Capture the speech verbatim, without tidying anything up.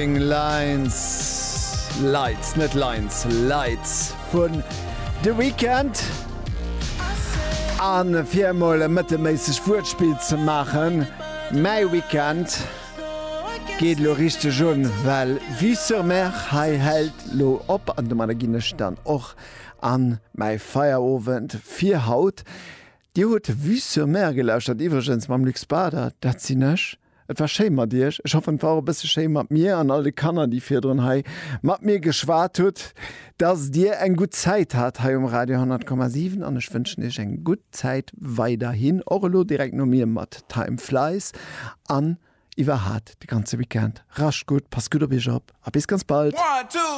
Lines, Lights, net Lines, Lights vun The Weeknd. An fir emol e mëttelméissegt Wuertspill ze maachen, mäi Weekend geet lo richteg un, well Vue sur Mer hei hält lo op an domadder ginn ech dann och an mäi Feierowend fir haut. Dir hutt Vue sur Mer gelauschtert, iwwregens mam Luc Bader, dat sinn ech. Et war schéi mat iech. Ech hoffen, et war och e bësse schéi mat mir an all de Kanner, déi virdrun hei mat mir geschwat hutt, dass dir eng gutt Zäit hat hei um Radio honnert Komma siwen an ech wënschen iech eng gutt Zäit weiderhin, och elo direkt no mir mat Time Flies an iwwerhat de ganze Weekend. Rascht gutt, passt gutt op iech op a bis ganz bald. One, two.